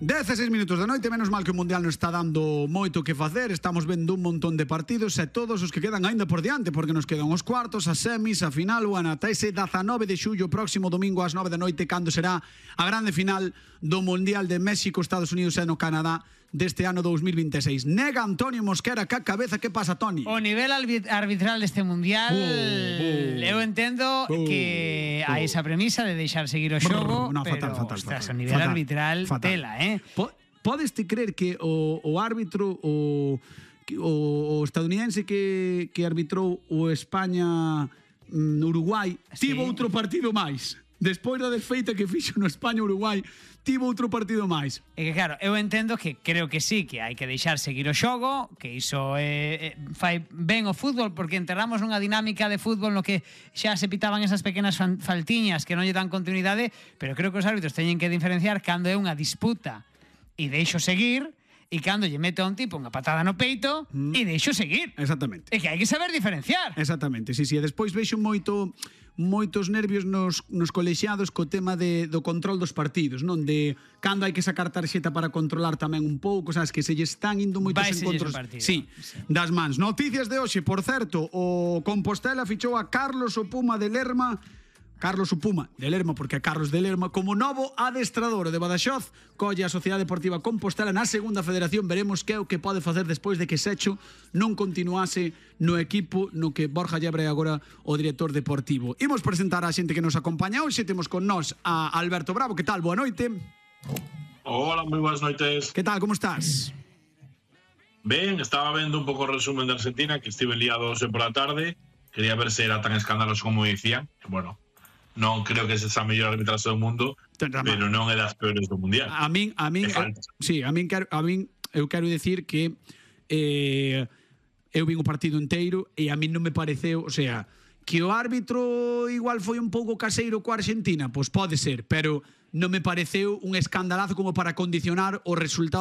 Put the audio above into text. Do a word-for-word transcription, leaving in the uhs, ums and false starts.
dezasseis minutos da noite, menos mal que o Mundial non está dando moito que facer. Estamos vendo un montón de partidos e todos os que quedan aínda por diante, porque nos quedan os cuartos, as semis, a final, o ata ese dezanove de xullo, próximo domingo ás nove da noite, cando será a grande final do Mundial de México, Estados Unidos e no Canadá deste ano dous mil vinte e seis. Nega Antonio Mosquera ca cabeza. Que pasa, Toni? O nivel arbitral deste Mundial, uh, uh, eu entendo uh, que hai esa premisa de deixar seguir o xogo, no, pero fatal, fatal, ostras, fatal, o nivel fatal, arbitral fatal. tela, eh? Po Podes ti creer que o, o árbitro o, o, o estadounidense que, que arbitrou o España-Uruguai sí. tivo outro partido máis? Despois da desfeita que fixo no España-Uruguai, tivo outro partido máis. É que claro, eu entendo que creo que sí, que hai que deixar seguir o xogo, que iso é, é, fai ben o fútbol, porque enterramos nunha dinámica de fútbol no que xa se pitaban esas pequenas faltiñas que non lle dan continuidade, pero creo que os árbitros teñen que diferenciar cando é unha disputa e deixo seguir, e cando lle meto a un tipo unha patada no peito mm. e deixo seguir. Exactamente. É que hai que saber diferenciar. Exactamente, sí, sí. E despois vexo moito moitos nervios nos, nos colexiados co tema de, do control dos partidos, non? De cando hai que sacar tarxeta para controlar tamén un pouco, sabes, que se lle están indo moitos Vai encontros sí, sí. das mans. Noticias de hoxe, por certo, o Compostela fichou a Carlos o Puma de Lerma, Carlos o Puma de Lerma, porque é Carlos de Lerma, como novo adestrador de Badaxoz. Colle a Sociedade Deportiva Compostela na segunda federación. Veremos que é o que pode facer despois de que Secho non continuase no equipo no que Borja Llebre é agora o director deportivo. Imos presentar a xente que nos acompaña hoxe. Temos con nós a Alberto Bravo. Que tal? Boa noite. Hola, moi boas noites. Que tal? Como estás? Ben, estaba vendo un pouco o resumen de Argentina, que estive liado hoxe por a tarde. Quería ver se era tan escandaloso como dicían. Bueno, non creo que esa mellor arbitraxe do mundo, pero non é das peores do mundial. A min, a min, eu, sí, a min quero, a min eu quero dicir que eh, eu vin o partido inteiro e a min non me pareceu, o sea, que o árbitro igual foi un pouco caseiro coa Argentina, pois pode ser, pero non me pareceu un escandalazo como para condicionar o resultado